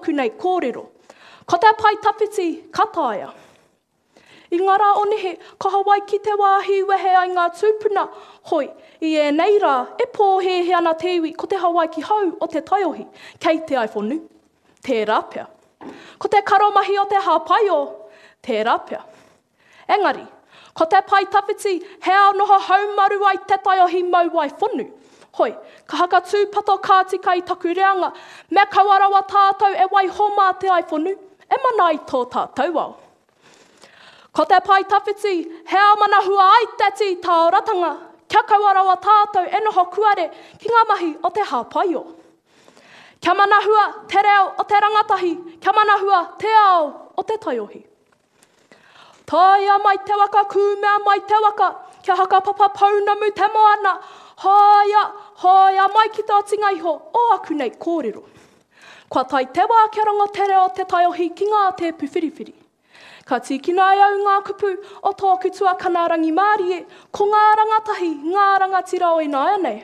Āku nei kōrero. Ko te pae tawhiti ka taea. I ngā rā o nehe, ka Hawaiki te wāhi i wehe ai ngā tūpuna, hoi, i ēnei rā, e pōhēhē ana te iwi ko te Hawaiki hou o te taiohi, kei te aiwhonu. Tērā pea. Ko te karomahi o te hāpaio, tērā pea. Engari, ko te pae tawhiti he ao noho haumaru ai te taiohi mau wai whonu. Hoi, ka haka tūpato ka tika i taku reanga, me kaua rawa tātou e waiho mā te aiwhonu e mana ai tō tātou ao. Ko te pae tawhiti he ao manahua ai te tī tāoratanga, kia kaua rawa tātou e noho kuare ki ngā mahi o te hāpaio. Kia manahua te reo o te rangatahi, kia manahua te ao o te taiohi. Tāia mai te waka, kūmea mai te waka, kia hakapapa pounamu te moana, hāia, hāia mai ki te otinga iho o aku nei kōrero. Kua tae te wā kia rongo te reo o te taiohi ki ngā tēpu whiriwhiri. Ka tīkina e au ngā kupu o tōku tuakana rangimārie, ko ngā rangatahi, ngā rangatira o ināianei.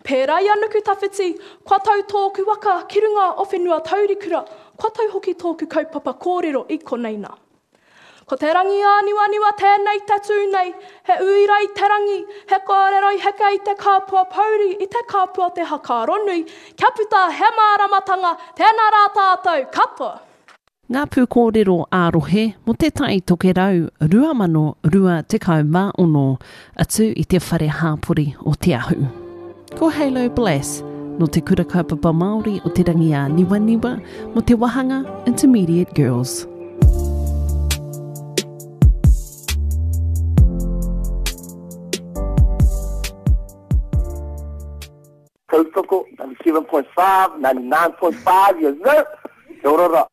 Pērā i a Nukutawhiti, kua tau tōku waka ki runga o whenua taurikura, kua tau hoki tōku kaupapa kōrero i konei nā. Ko te rangi āniwaniwa tēnei te tū nei, he uira i te rangi, he kōrero i heke i te kāpua pouri, i te kāpua o te hakaaro nui, kia puta he māramatanga, tēnā rā tātou katoa! Ngā pūkōrero ā-rohe mō Te Tai Tokerau 2026, atu i te Whare Hāpori o Te Ahu. Ko Halo Blass, nō Te Kura Kaupapa Māori o Te Rangiāniwaniwa, mō te wāhanga Intermediate Girls. Tautoko, 97.5, 99.5, yes sir! Kia ora ra.